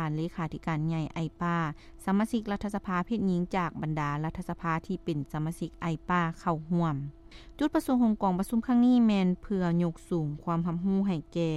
ນເລຂາທິການໃຫຍ່ ໄອປາ ສະມາຊິກລັດຖະສະພາເພດຍິງຈາກບັນດາລັດຖະສະພາທີ່ເປັນສະມາຊິກ ໄອປາ ເຂົ້າຮ່ວມ. ຈຸດປະສົງຂອງກອງປະຊຸມຄັ້ງນີ້ແມ່ນເພື່ອຍົກສູງຄວາມຮັບຮູ້ໃຫ້ແກ່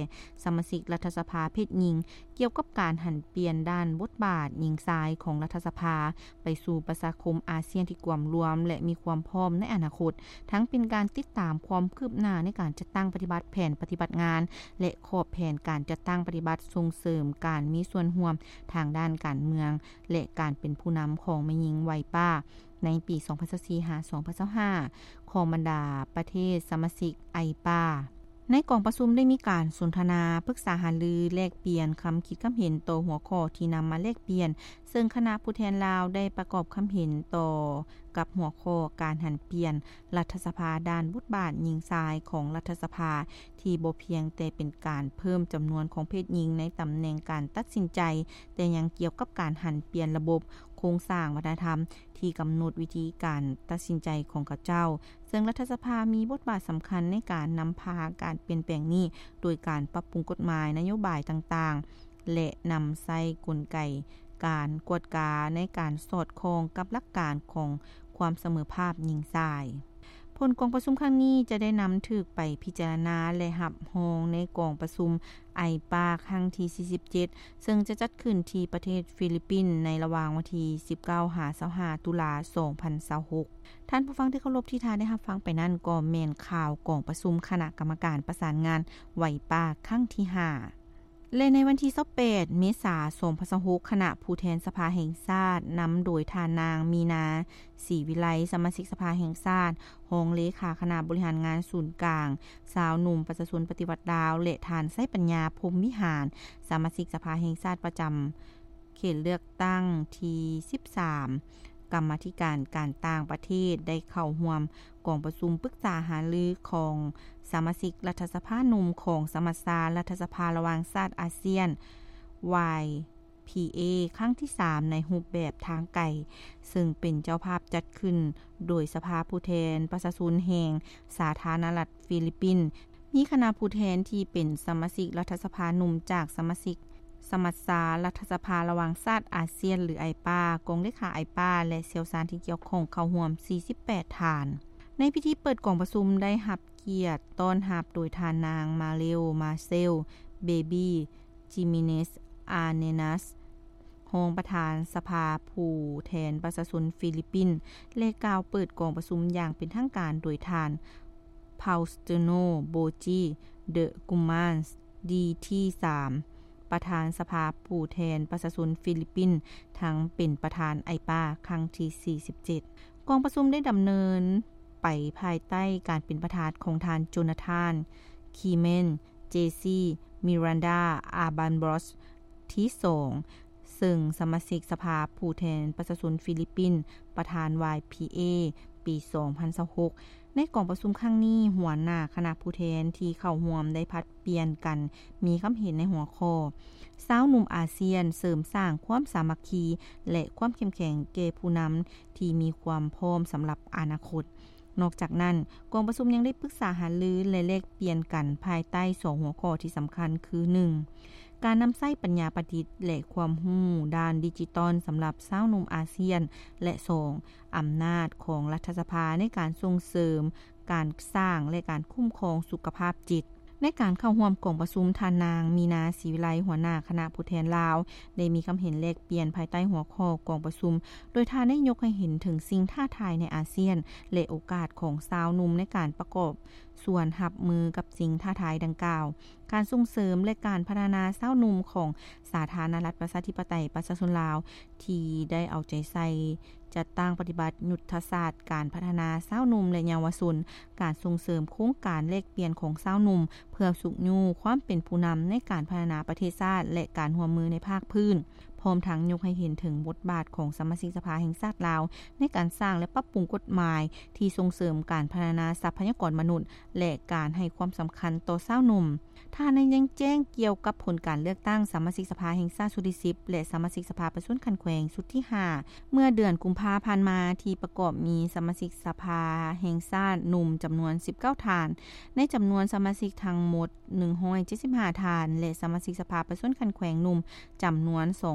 ສະມາຊິກລັດຖະສະພາເພດຍິງ ກ່ຽວກັບການຫັນປ່ຽນດ້ານບົດບາດຍິງຊາຍຂອງລັດຖະສະພາ ໄປສູ່ປະຊາຄົມອາຊຽນທີ່ກວມລວມ ແລະ ມີຄວາມພ້ອມໃນອະນາຄົດ, ທັງເປັນການຕິດຕາມຄວາມຄືບໜ້າໃນການຈັດຕັ້ງປະຕິບັດແຜນປະຕິບັດງານ ແລະ ຂອບແຜນການຈັດຕັ້ງປະຕິບັດ ສົ່ງເສີມການມີສ່ວນຮ່ວມທາງດ້ານການເມືອງ ແລະ ການເປັນຜູ້ນຳຂອງແມ່ຍິງໄວປາ ໃນປີສອງພັນຊາວສີ່ ຫາ ສອງພັນຊາວຫ້າ ຂອງບັນດາປະເທດສະມາຊິກ ໄອປາ. ໃນກອງປະຊຸມໄດ້ມີການສົນທະນາ, ປຶກສາຫາລື, ແລກປ່ຽນຄຳຄິດຄຳເຫັນຕໍ່ຫົວຂໍ້ທີ່ນຳມາແລກປ່ຽນ, ເຊິ່ງຄະນະຜູ້ແທນລາວໄດ້ປະກອບຄຳເຫັນຕໍ່ກັບຫົວຂໍ້ການຫັນປ່ຽນລັດຖະສະພາດ້ານບົດບາດຍິງຊາຍຂອງລັດຖະສະພາ ທີ່ບໍ່ພຽງແຕ່ເປັນການເພີ່ມຈຳນວນຂອງເພດຍິງໃນຕຳແໜ່ງການຕັດສິນໃຈ, ແຕ່ຍັງກ່ຽວກັບການຫັນປ່ຽນລະບົບໂຄງສ້າງວັດທະນະທຳ ທີ່ກຳນົດວິທີການຕັດສິນໃຈຂອງເຂົາເຈົ້າ, ເຊິ່ງລັດຖະສະພາມີບົດບາດສຳຄັນໃນການນຳພາການປ່ຽນແປງນີ້ ໂດຍການປັບປຸງກົດໝາຍ, ນະໂຍບາຍຕ່າງໆ ແລະ ນຳໃຊ້ກົນໄກການກວດກາໃນການສອດຄ່ອງກັບຫຼັກການຂອງຄວາມສະເໝີພາບຍິງຊາຍ. ຜົນກອງປະຊຸມຄັ້ງນີ້ຈະໄດ້ນຳຖືກໄປພິຈາລະນາ ແລະ ຮັບຮອງໃນກອງປະຊຸມ ໄອປາ ຄັ້ງທີສີ່ສິບເຈັດ ເຊິ່ງຈະຈັດຂຶ້ນທີ່ປະເທດຟີລິບປິນ ໃນລະຫວ່າງວັນທີສິບເກົ້າ ຫາ ຊາວຫ້າ ຕຸລາ ສອງພັນຊາວຫົກ. ທ່ານຜູ້ຟັງທີ່ເຄົາລົບ, ທີ່ທ່ານໄດ້ຮັບຟັງໄປນັ້ນກໍແມ່ນຂ່າວກອງປະຊຸມຄະນະກຳມະການປະສານງານໄວປາ ຄັ້ງທີຫ້າ ແລະ ໃນວັນທີຊາວແປດ ເມສາ ສອງພັນຊາວຫົກ ຄະນະຜູ້ແທນສະພາແຫ່ງຊາດ ນຳໂດຍທ່ານນາງ ມີນາ ສີວິໄລ ສະມາຊິກສະພາແຫ່ງຊາດ, ຮອງເລຂາຄະນະບໍລິຫານງານສູນກາງຊາວໜຸ່ມປະຊາຊົນປະຕິວັດລາວ ແລະ ທ່ານ ໄຊປັນຍາ ພົມວິຫານ ສະມາຊິກສະພາແຫ່ງຊາດປະຈຳເຂດເລືອກຕັ້ງທີສິບສາມ, ກຳມາທິການການຕ່າງປະເທດ ໄດ້ເຂົ້າຮ່ວມກອງປະຊຸມປຶກສາຫາລືຂອງສະມາຊິກລັດຖະສະພາໜຸ່ມຂອງສະມັດຊາລັດຖະສະພາລະຫວ່າງຊາດອາຊຽນ ວາຍ ພີເອ ຄັ້ງທີສາມ ໃນຮູບແບບທາງໄກ, ເຊິ່ງເປັນເຈົ້າພາບຈັດຂຶ້ນໂດຍສະພາຜູ້ແທນປະຊາຊົນແຫ່ງສາທາລະນະລັດຟີລິບປິນ, ມີຄະນະຜູ້ແທນທີ່ເປັນສະມາຊິກລັດຖະສະພາໜຸ່ມຈາກສະມາຊິກສະມັດຊາລັດຖະສະພາລະຫວ່າງຊາດອາຊຽນ ຫຼື ໄອປາ, ກອງເລຂາໄອປາ ແລະ ຊ່ຽວຊານທີ່ກ່ຽວຂ້ອງເຂົ້າຮ່ວມສີ່ສິບແປດທ່ານ. ໃນພິທີເປີດກອງປະຊຸມໄດ້ຮັບກຽດຕ້ອນຮັບໂດຍທ່ານນາງ ມາເຣວ ມາເຊວ ເບບີ ຈິມິເນສ ອາເນນັສ ຮອງປະທານສະພາຜູ້ແທນປະຊາຊົນຟີລິບປິນ ແລະ ກ່າວເປີດກອງປະຊຸມຢ່າງເປັນທາງການໂດຍທ່ານ ເພົາສະເຕີໂນ ໂບຈີ ເດີກຸມານ ດີທີສາມ ປະທານສະພາຜູ້ແທນປະຊາຊົນຟີລິບປິນ ທັງເປັນປະທານໄອປາ ຄັ້ງທີສີ່ສິບເຈັດ. ກອງປະຊຸມໄດ້ດຳເນີນໄປພາຍໃຕ້ການເປັນປະທານຂອງທ່ານ ໂຈນາທານ ຄີເມັນ ເຈຊີ ມິຣັນດາ ອາບັນບຣອສ ທີສອງ ເຊິ່ງສະມາຊິກສະພາຜູ້ແທນປະຊາຊົນຟີລິບປິນ ປະທານ ວາຍພີເອ ປີສອງພັນຊາວຫົກ. ໃນກອງປະຊຸມຄັ້ງນີ້, ຫົວໜ້າຄະນະຜູ້ແທນທີ່ເຂົ້າຮ່ວມໄດ້ຜັດປ່ຽນກັນມີຄຳເຫັນໃນຫົວຂໍ້ ຊາວໜຸ່ມອາຊຽນເສີມສ້າງຄວາມສາມັກຄີ ແລະ ຄວາມເຂັ້ມແຂງແກ່ຜູ້ນຳທີ່ມີຄວາມພ້ອມສຳລັບອະນາຄົດ. ນອກຈາກນັ້ນ, ກອງປະຊຸມຍັງໄດ້ປຶກສາຫາລື ແລະ ແລກປ່ຽນກັນພາຍໃຕ້ສອງຫົວຂໍ້ທີ່ສຳຄັນຄື ໜຶ່ງ ການນຳໃຊ້ປັນຍາປະດິດ ແລະ ຄວາມຮູ້ດ້ານດິຈິຕອນສຳລັບຊາວໜຸ່ມອາຊຽນ ແລະ ສອງ ອຳນາດຂອງລັດຖະສະພາໃນການສົ່ງເສີມການສ້າງ ແລະ ການຄຸ້ມຄອງສຸຂະພາບຈິດ. ໃນການເຂົ້າຮ່ວມກອງປະຊຸມ, ທ່ານນາງ ມີນາ ສີວິໄລ ຫົວໜ້າຄະນະຜູ້ແທນລາວ ໄດ້ມີຄຳເຫັນແລກປ່ຽນພາຍໃຕ້ຫົວຂໍ້ກອງປະຊຸມ, ໂດຍທ່ານໄດ້ຍົກໃຫ້ເຫັນເຖິງສິ່ງທ້າທາຍໃນອາຊຽນ ແລະ ໂອກາດຂອງຊາວໜຸ່ມໃນການປະກອບສ່ວນຮັບມືກັບສິ່ງທ້າທາຍດັ່ງກ່າວ, ການສົ່ງເສີມ ແລະ ການພັດທະນາຊາວໜຸ່ມຂອງສາທາລະນະລັດປະຊາທິປະໄຕປະຊາຊົນລາວ ທີ່ໄດ້ເອົາໃຈໃສ່ ຈັດຕັ້ງປະຕິບັດຍຸດທະສາດການພັດທະນາຊາວໜຸ່ມ ແລະ ເຍົາວະຊົນ, ການສົ່ງເສີມໂຄງການແລກປ່ຽນຂອງຊາວໜຸ່ມ ເພື່ອຊຸກຍູ້ຄວາມເປັນຜູ້ນຳໃນການພັດທະນາປະເທດຊາດ ແລະ ການຮ່ວມມືໃນພາກພື້ນ, ພ້ອມທັງຍົກໃຫ້ເຫັນເຖິງບົດບາດຂອງສະມາຊິກສະພາແຫ່ງຊາດລາວ ໃນການສ້າງ ແລະ ປັບປຸງກົດໝາຍທີ່ສົ່ງເສີມການພັດທະນາຊັບພະຍາກອນມະນຸດ ແລະ ການໃຫ້ຄວາມສຳຄັນຕໍ່ຊາວໜຸ່ມ. ທ່ານໄດ້ຍັງແຈ້ງກ່ຽວກັບຜົນການເລືອກຕັ້ງສະມາຊິກສະພາແຫ່ງຊາດຊຸດທີສິບ ແລະ ສະມາຊິກສະພາປະຊາຊົນຂັ້ນແຂວງຊຸດທີຫ້າ ເມື່ອເດືອນກຸມພາຜ່ານມາ ທີ່ປະກອບມີສະມາຊິກສະພາແຫ່ງຊາດໜຸ່ມຈຳນວນສິບເກົ້າທ່ານ, ໃນຈຳນວນສະມາຊິກທັງໝົດໜຶ່ງຮ້ອຍເຈັດສິບຫ້າທ່ານ ແລະ ສະມາຊິກສະພາປະຊາຊົນຂັ້ນແຂວງໜຸ່ມຈຳນວນສອງ